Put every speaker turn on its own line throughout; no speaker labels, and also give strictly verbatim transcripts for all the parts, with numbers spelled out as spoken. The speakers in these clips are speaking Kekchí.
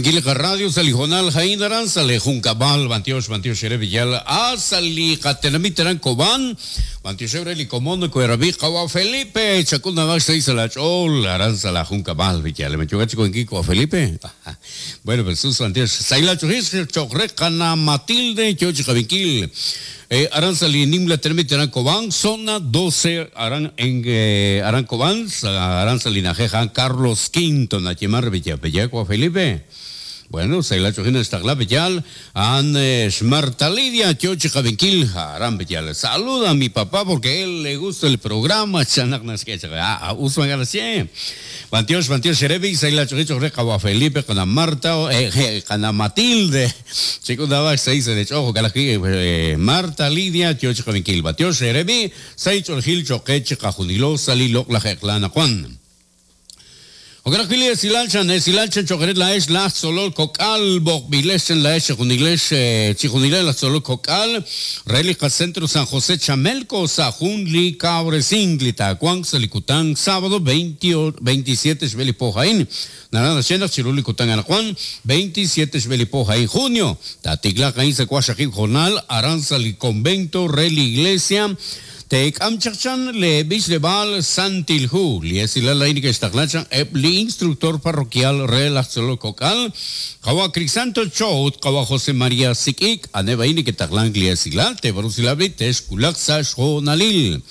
Rabikil Radio Salijonal Jain Aran Sale Juncabal Bantiosh Bantiosh Villal A Sali Katenamit Aran Koban Bantiosh Ebreli Comono Coerabi Kawa Felipe Chacunda Bax seis Alachol Aran Sala Juncabal Villal Me chocacho con Kiko a Felipe. Bueno, pues sus Bantiosh Saila Chojis Chocrecana Matilde Chochi Javiquil. Eh, Aran Salinim la Termite Aran Cobán, zona doce, Aran en eh, Aran Cobán, Aran Salinajeja, Carlos Quinto, Nachimar Villapellaco, Felipe. Bueno, Saila Chojina está Bellal, An Marta Lidia, Chochi Javinquil, Aran Bellal. Saluda a mi papá porque él le gusta el programa. Chanak ah, Usman García. Bantiosh, Bantiosh, Erebi, Saila Chojicho, Recawa Felipe, Cana Marta, eh, Cana Matilde. Chicos, daba seis de chojo, Calají, Marta Lidia, Chochi Javinquil, Bantiosh, Erebi, Saicho Gil, Choqueche, Cajunilo, Salilo, La Jeclana, Juan. Ografili silalchan, silalchan choqueret la es la solol cocal, bokbilesen la es juniles, chijunile la solol cocal, relica Centro San José Chamelco, Sajunli, Cabresingli, Tacuán, Salicután, sábado veintisiete Xbelipojaín, Narana Shena, Chirulicután, Anajuan, veintisiete Xbelipojaín, junio, Tatiglacaín, Secuachajib, Jornal, Aranzali, Convento, Reli Iglesia, Tek amchachan le bislebal santilhu liesila la inica estaglachan ebli instructor parroquial relaxolo cocal kawa Crisanto Chout kawa José María Sikik aneba inica taglan liesila te brusilabli tesculaxa shonalil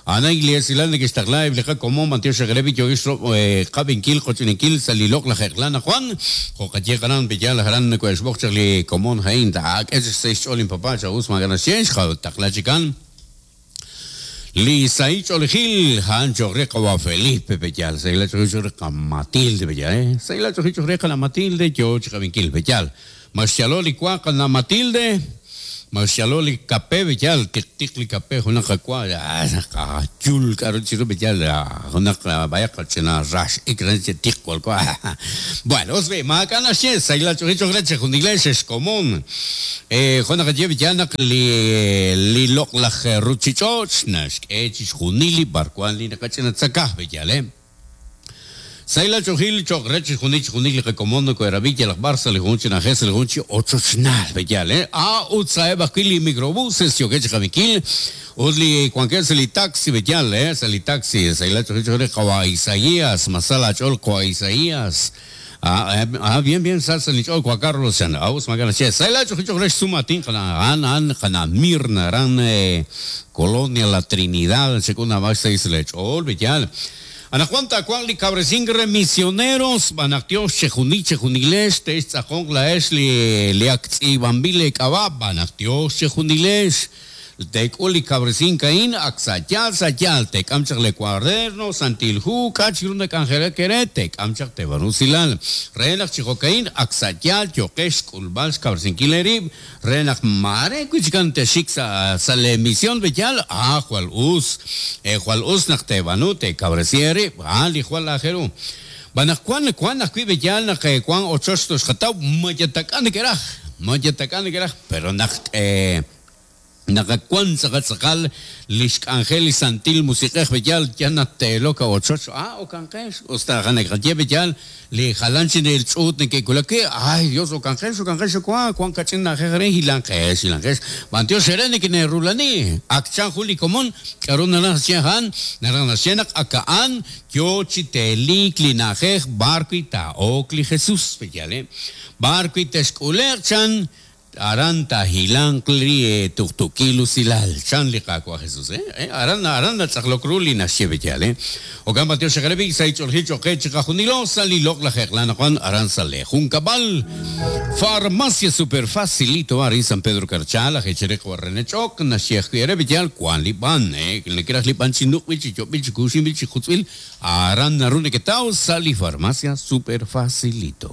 Ana iglesia la que está clave bleja como Mateo Shagrevi yo istro kabinkil cochinikil salilok la jeklana Juan jokachegaran billal haran ko esbochli como hein tak es seis olin papá chaus maganasien taklachikan Lisaich Olegil, Hancho Reca Felipe Bellal, Seila Chojicho Reca Matilde Bellal, eh? Seila Chojicho Reca la Matilde, Choch Javinquil Bellal. Marcialoli Cuaca la Matilde, Marcialoli Capé Bellal, Ticticli Capé, Junaca Cua, Chul, Carochiro Bellal, Junaca Vaya Rash, Icranche Ticual Cua. Bueno, os ve, Macana She, Seila Chojicho Recha, Junigleses, común. Eh, Junaca Llevillana, Li Lilok la Ruchichoch, Nash, Echis, Junili, Barcuan, Lina Cachena, Zacá, Bellal, eh. Saila Chojil, Chocrech, Junich, Junil, Recomondo, Coeravilla, las Barça, Legunchi, Najes, Legunchi, ocho Chnal, Bellal, eh. Ah, Utsaeba, Kili, microbuses, Yoquech, Javiquil, Udli, Cuanquel, Celitaxi, Bellal, eh, Celitaxi, Saila Chojil, Chojil, Isaías, Masala, Cholco, Isaías. Ah, ah, bien, bien, salsa, Nichol, Juan Carlos, Aus, Magana, Che, Saila Chojil, Sumatín, An, An, Jana, Mirna, Ran, Colonia, La Trinidad, Segunda, Baxa, Isla, Chol, Bellal. Anajuanta, Cuanli, Cabresingre, misioneros, Banactios, Chejuniche, Juniles, Tezajón, La Esli, Leaxi, Bambile, Kabab, Banactios, Chejuniles, Teculi, Cabresin, Caín, Axayal, Sayal, Tecamchak, Le Cuaderno, Santilju, Cachirunda, Canjere, Querete, Tecamchak, Tebarusilal, Renak, Chijocaín, Axayal, Yokesh, Kulbal, Cabresin, Kilerib, Renak, Mare, Cuchicante, Shixa, Sale, Misión, Bellal, Ah, Jual Us, eh, Jual Us, Nactebanute, Cabresieri, Ali, Jual Ajeru. Banacuan, Cuan, Acuí, Bellal, Naque, Cuan, Ochostos, Jatau, Mayatacán, Queraj, Mayatacán, Queraj, pero Nac, eh, Nakakuan Zacatzakal, Lishk Angel y Santil Musiquej Bellal, Yana Teloca Ochocho, ah, o Canjes, Osta Hanekatye Bellal, Le Jalanchin el Chut, Nekekulake, ay Dios, o Canjes, o Canjes, o Cuan, Cuan Cachin, Najere, Hilanjes, Hilanjes, Bantio Serene, que Nerulani, Akchan Juli Común, Karuna Nasiahan, Naranasianak, Akaan, Yochiteli, Klinajej, Barquita, Ocli Jesús, Bellal, eh, Barquita Esculerchan, Aranta hilancli tuktukilu silal chanli kakwa Jesús eh aranda aranda tzaklokruli nashe bellal eh okan batio shagrebi saichol hicho kecha junilo salilok la jeklana Juan aranzale juncabal farmacia super facilito ari San Pedro Carchala hechereco renechok nashe bellal Juan liban eh le quieras liban chinuk bichi bichi kushim bichi jutzil aranda rune ketao sali farmacia super facilito.